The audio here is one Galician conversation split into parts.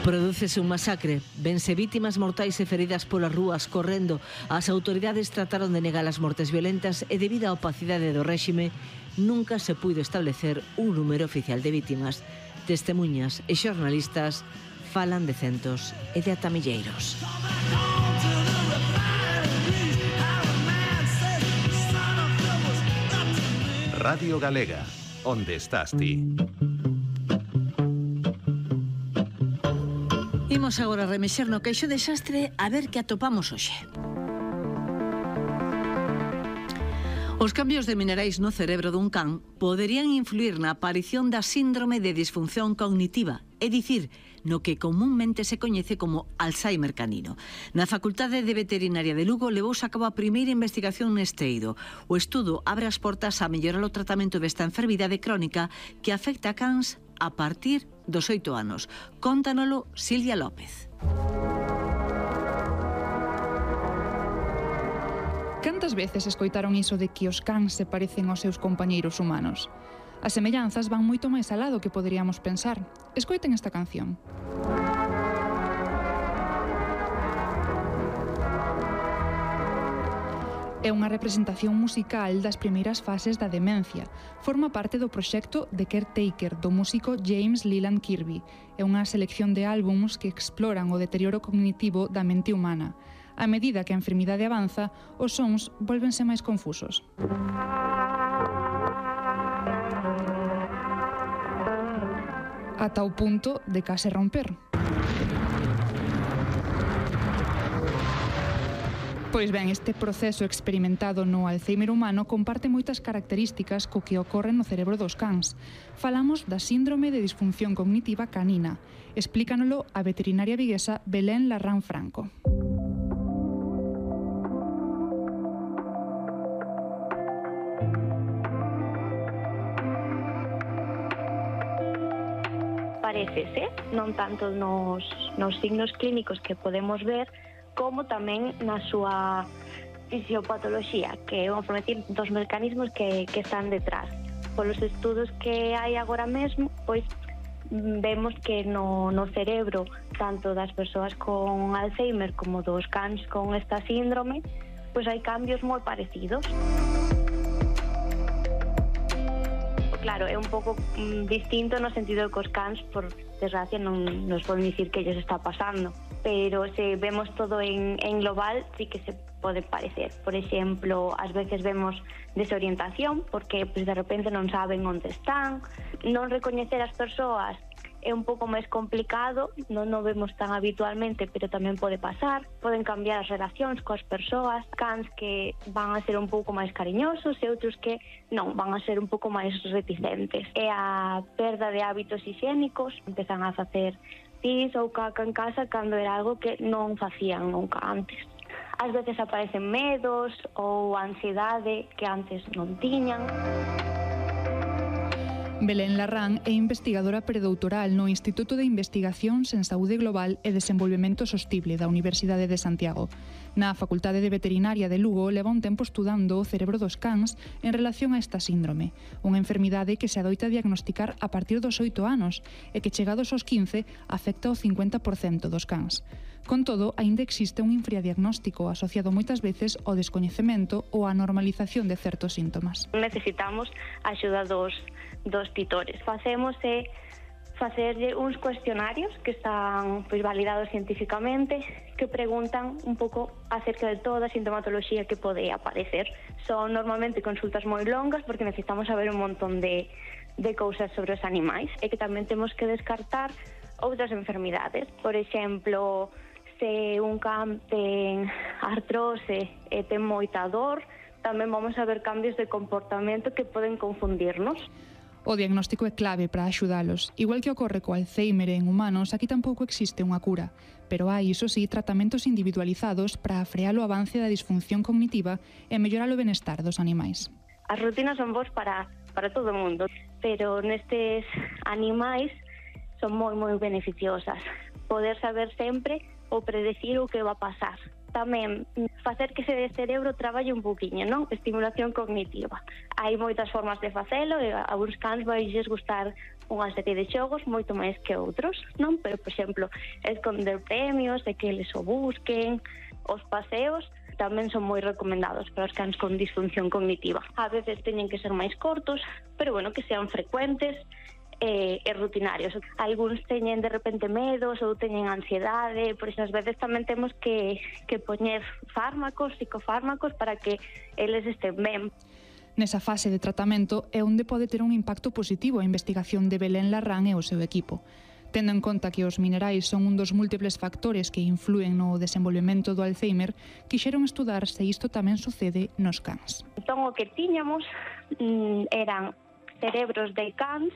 Prodúcese un masacre, vense vítimas mortais e feridas polas rúas correndo. As autoridades trataron de negar as mortes violentas e debido á opacidade do réxime nunca se puido establecer un número oficial de vítimas. Testemuñas e xornalistas falan de centos e de ata milleiros. Radio Galega, onde estás ti? Imos agora remexer no queixo de xastre a ver que atopamos hoxe. Os cambios de minerais no cerebro dun can poderían influir na aparición da síndrome de disfunción cognitiva, é dicir, no que comúnmente se coñece como Alzheimer canino. Na Facultade de Veterinaria de Lugo levouse a cabo a primeira investigación neste eido. O estudo abre as portas a mellorar o tratamento desta enfermidade crónica que afecta a cans a partir dos 8 anos. Cóntanolo Silvia López. Cantas veces escoitaron iso de que os cans se parecen aos seus compañeiros humanos? As semellanzas van moito máis alá do que poderíamos pensar. Escoiten esta canción. É unha representación musical das primeiras fases da demencia. Forma parte do proxecto The Caretaker do músico James Leland Kirby. É unha selección de álbums que exploran o deterioro cognitivo da mente humana. A medida que a enfermidade avanza, os sons vólvense máis confusos. Ata o punto de case romper. Pois ben, este proceso experimentado no Alzheimer humano comparte moitas características co que ocorre no cerebro dos cans. Falamos da síndrome de disfunción cognitiva canina. Explícanolo a veterinaria viguesa Belén Larrán Franco. Parécese, non tanto nos signos clínicos que podemos ver, como tamén na súa fisiopatoloxía, que é unha forma de decir dos mecanismos que están detrás. Polos estudos que hai agora mesmo, pois vemos que no cerebro, tanto das persoas con Alzheimer como dos cans con esta síndrome, pois hai cambios moi parecidos. Claro, é un pouco distinto no sentido que os cans, por desgracia, non nos poden dicir que ellos está pasando, pero se vemos todo en global, sí que se pode parecer. Por exemplo, ás veces vemos desorientación, porque pues, de repente non saben onde están, non recoñecer as persoas é un pouco máis complicado, non o vemos tan habitualmente, pero tamén pode pasar. Poden cambiar as relacións coas persoas, cans que van a ser un pouco máis cariñosos e outros que non, van a ser un pouco máis reticentes. E a perda de hábitos higiénicos, empezan a facer pis ou caca en casa cando era algo que non facían nunca antes. Ás veces aparecen medos ou ansiedade que antes non tiñan. Belén Larrán é investigadora predoutoral no Instituto de Investigacións en Saúde Global e Desenvolvemento Sostible da Universidade de Santiago. Na Facultade de Veterinaria de Lugo leva un tempo estudando o cerebro dos cans en relación a esta síndrome, unha enfermidade que se adoita diagnosticar a partir dos 8 anos e que chegados aos 15 afecta o 50% dos cans. Con todo, aínda existe un infradiagnóstico asociado moitas veces ao descoñecemento ou á normalización de certos síntomas. Necesitamos a axuda dos titores. Facemos facerlle uns cuestionarios que están validados científicamente, que preguntan un pouco acerca de toda a sintomatoloxía que pode aparecer. Son normalmente consultas moi longas porque necesitamos saber un montón de cousas sobre os animais e que tamén temos que descartar outras enfermidades. Por exemplo, se un can ten artrose e ten moita dor, tamén vamos a ver cambios de comportamento que poden confundirnos. O diagnóstico é clave para axudalos. Igual que ocorre co Alzheimer en humanos, aquí tampouco existe unha cura, pero hai, iso sí, tratamentos individualizados para frear o avance da disfunción cognitiva e mellorar o benestar dos animais. As rutinas son boas para todo o mundo, pero nestes animais son moi beneficiosas. Poder saber sempre ou predecir o que va a pasar. Tamén facer que ese cerebro traballe un poquinho, non? Estimulación cognitiva. Hai moitas formas de facelo e a uns cans vailles gustar unha serie de xogos moito máis que outros, non? Pero, por exemplo, esconder premios, de que eles o busquen, os paseos tamén son moi recomendados para os cans con disfunción cognitiva. A veces teñen que ser máis cortos, pero bueno, que sean frecuentes e rutinarios. Algúns teñen de repente medos ou teñen ansiedade, por esas veces tamén temos que poñer fármacos, psicofármacos para que eles estén ben. Nesa fase de tratamento é onde pode ter un impacto positivo a investigación de Belén Larrán e o seu equipo. Tendo en conta que os minerais son un dos múltiples factores que influen no desenvolvemento do Alzheimer, quixeron estudar se isto tamén sucede nos cans. Entón, o que tiñamos eran cerebros de cans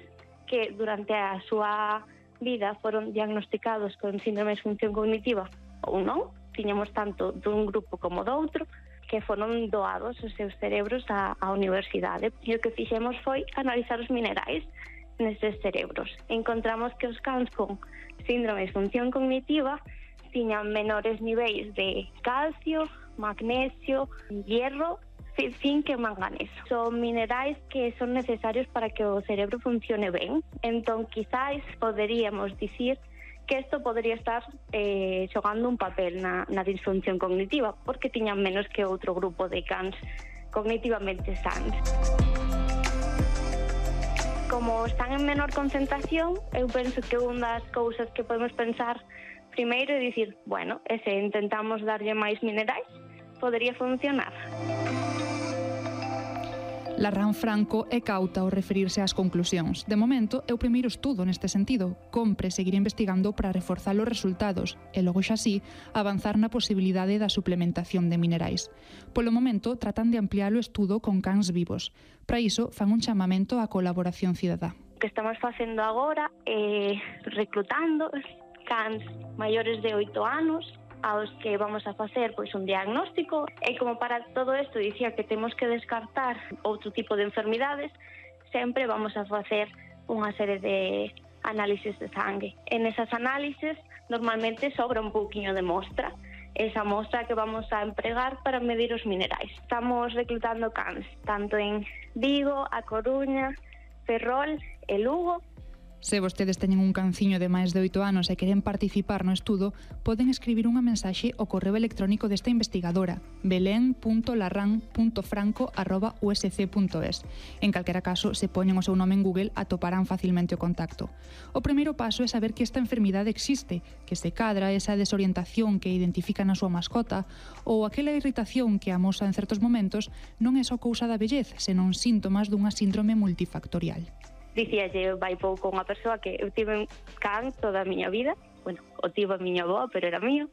que durante a súa vida foron diagnosticados con síndrome de disfunción cognitiva ou non. Tiñamos tanto dun grupo como do outro, que foron doados os seus cerebros á universidade. E o que fixemos foi analizar os minerais nestes cerebros. Encontramos que os cans con síndrome de disfunción cognitiva tiñan menores niveis de calcio, magnesio, hierro, zinc e manganeso. Son minerais que son necesarios para que o cerebro funcione ben. Entón, quizáis poderíamos dicir que isto podría estar xogando un papel na disfunción cognitiva, porque tiñan menos que outro grupo de cans cognitivamente sanos. Como están en menor concentración, eu penso que unha das cousas que podemos pensar primeiro é dicir, bueno, e se intentamos darlle máis minerais, podería funcionar. Larrán Franco é cauta ao referirse ás conclusións. De momento, é o primeiro estudo neste sentido. Compre seguir investigando para reforzar os resultados e logo xa así avanzar na posibilidade da suplementación de minerais. Polo momento, tratan de ampliar o estudo con cans vivos. Para iso, fan un chamamento á colaboración cidadá. O que estamos facendo agora é reclutando cans maiores de 8 anos aos que vamos a facer pois un diagnóstico, e como para todo isto dicía que temos que descartar outro tipo de enfermidades, sempre vamos a facer unha serie de análisis de sangue. En esas análisis normalmente sobra un pouquiño de mostra, esa mostra que vamos a empregar para medir os minerais. Estamos reclutando cans tanto en Vigo, A Coruña, Ferrol e Lugo. Se vostedes teñen un canciño de máis de 8 anos e queren participar no estudo, poden escribir unha mensaxe ao correo electrónico desta investigadora, belen.larran.franco@usc.es. En calquera caso, se poñen o seu nome en Google, atoparán facilmente o contacto. O primeiro paso é saber que esta enfermidade existe, que se cadra esa desorientación que identifica na súa mascota ou aquela irritación que amosa en certos momentos non é só cousa da vellez, senón síntomas dunha síndrome multifactorial. Dicíalle vai pouco unha persoa que eu tive un can toda a miña vida, bueno, o tivo a miña avó, pero era mío,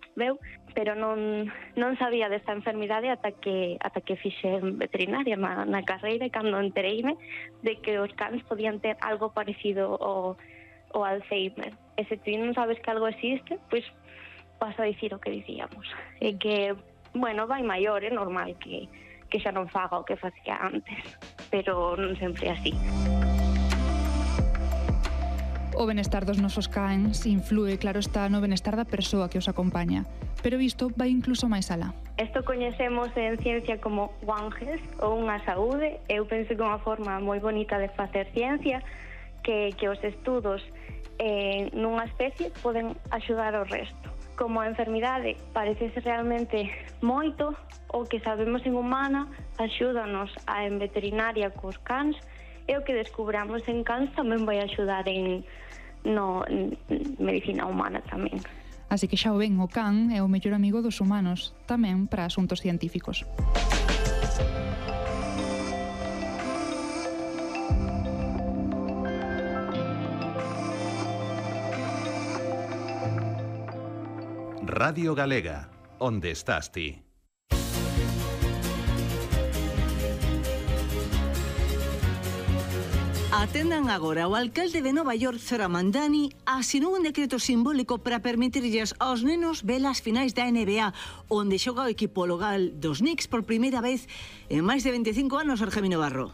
pero non sabía desta enfermidade ata que fixen veterinaria na carreira, e cando entereime de que os cans podían ter algo parecido ao Alzheimer. E se ti non sabes que algo existe, pois vas a dicir o que dicíamos. E que, bueno, vai maior, é normal que xa non faga o que facía antes, pero non sempre é así. O benestar dos nosos cans influe, claro está, no benestar da persoa que os acompaña, pero isto vai incluso máis alá. Isto coñecemos en ciencia como One Health ou unha saúde. Eu penso que é unha forma moi bonita de facer ciencia, que os estudos nunha especie poden axudar ao resto. Como a enfermidade parece ser realmente moito, o que sabemos en humana axúdanos en veterinaria cos cans, e o que descubramos en cans tamén vai axudar en medicina humana tamén. Así que xa o ven, o can é o mellor amigo dos humanos, tamén para asuntos científicos. Radio Galega, onde estás ti? Atendan agora, o alcalde de Nova York, Zohran Mamdani, asinou un decreto simbólico para permitirlles aos nenos ver as finais da NBA, onde xoga o equipo local dos Knicks por primeira vez en máis de 25 anos, Argemino Barro.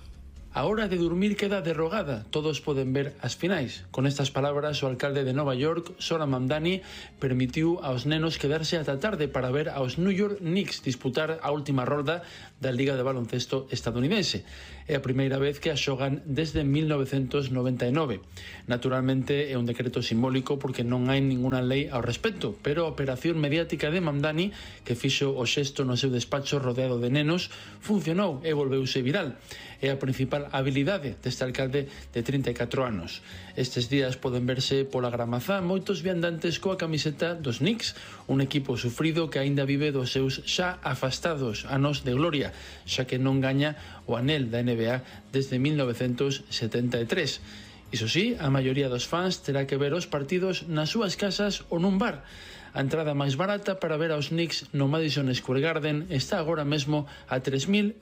A hora de dormir queda derrogada, todos poden ver as finais. Con estas palabras, o alcalde de Nova York, Zohran Mamdani, permitiu aos nenos quedarse ata tarde para ver aos New York Knicks disputar a última rolda da Liga de Baloncesto estadounidense. É a primeira vez que a xogan desde 1999. Naturalmente é un decreto simbólico porque non hai ninguna lei ao respecto, pero a operación mediática de Mamdani, que fixo o xesto no seu despacho rodeado de nenos, funcionou e volveuse viral. É a principal habilidade deste alcalde de 34 anos. Estes días poden verse pola Gramazá moitos viandantes coa camiseta dos Knicks, un equipo sufrido que aínda vive dos seus xa afastados anos de gloria, xa que non gaña o anel da NBA desde 1973. Iso sí, a maioría dos fans terá que ver os partidos nas súas casas ou nun bar. A entrada máis barata para ver aos Knicks no Madison Square Garden está agora mesmo a $3.500.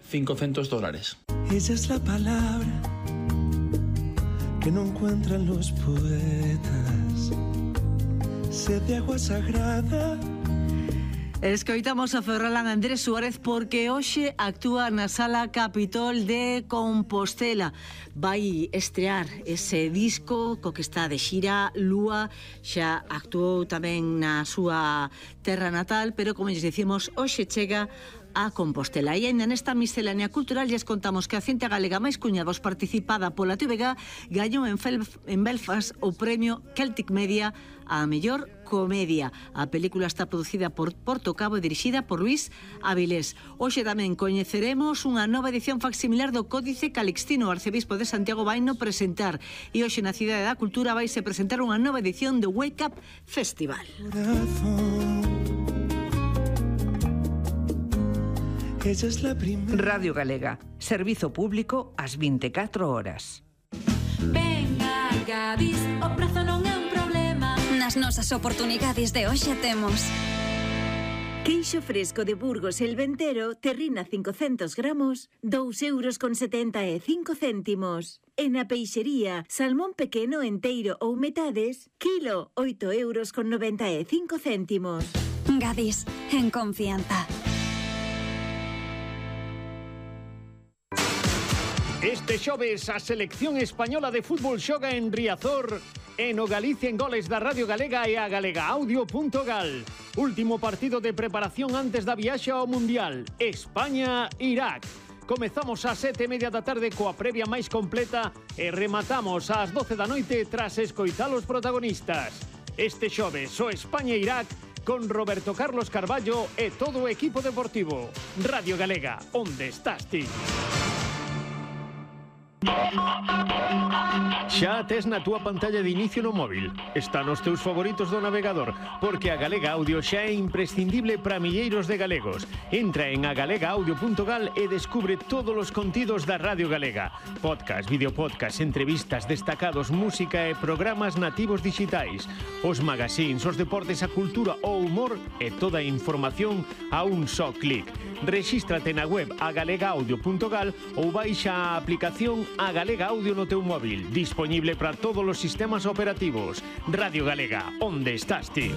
Ella es la palabra que no encuentran los poetas, sed de agua sagrada. Escoitamos a Ferrolán Andrés Suárez porque hoxe actúa na Sala Capitol de Compostela. Vai estrear ese disco co que está de xira Lúa, xa actuou tamén na súa terra natal, pero como lles dicimos, hoxe chega a Compostela. E ainda nesta miscelánea cultural lles contamos que a cinta galega máis cuñados participada pola TVG gañou en Belfast o premio Celtic Media a mellor comedia. A película está producida por Porto Cabo e dirixida por Luis Avilés. Hoxe tamén coñeceremos unha nova edición facsimilar do Códice Calixtino. O arcebispo de Santiago vaino presentar e hoxe na Cidade da Cultura vaise presentar unha nova edición do Wake Up Festival. Radio Galega, servizo público ás 24 horas. Venga, Gadis, o prezo non é un problema. Nas nosas oportunidades de hoxe temos queixo fresco de Burgos El Ventero, terrina 500 gramos, €2,75. E na peixería, salmón pequeno enteiro ou metades, kilo, €8,95. Gadis, en confianza. Este xoves a selección española de fútbol xoga en Riazor e no Galicia en Goles da Radio Galega e a galegaaudio.gal. Último partido de preparación antes da viaxe ao Mundial, España-Irak. Comezamos ás 7:30 da tarde coa previa máis completa e rematamos ás 12 da noite tras escoitar os protagonistas. Este xoves o España-Irak con Roberto Carlos Carballo e todo o equipo deportivo. Radio Galega, onde estás ti? Xa tes na túa pantalla de inicio no móvil. Está nos teus favoritos do navegador, porque a Galega Audio xa é imprescindible para milleiros de galegos. Entra en agalegaaudio.gal e descubre todos os contidos da Radio Galega. Podcast, videopodcast, entrevistas, destacados, música e programas nativos digitais. Os magazines, os deportes, a cultura, o humor e toda a información a un só clic. Rexístrate na web agalegaaudio.gal ou baixa a aplicación A Galega Audio no teu móvil, disponible para todos os sistemas operativos. Radio Galega, onde estás ti?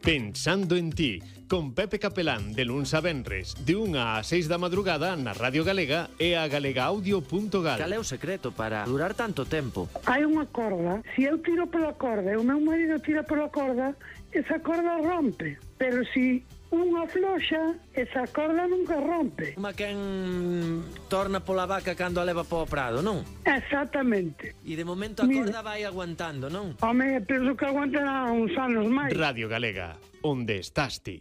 Pensando en ti, con Pepe Capelán, de luns a venres, de 1 a 6 da madrugada na Radio Galega e a galegaaudio.gal. Cal é o secreto para durar tanto tempo? Hai unha corda, se eu tiro pola corda e o meu marido tira pola corda, esa corda rompe, pero se unha floxa, esa corda nunca rompe. Como quen torna pola vaca cando a leva po prado, non? Exactamente. E de momento a corda vai aguantando, non? Home, penso que aguantará uns anos máis. Radio Galega, onde estás ti?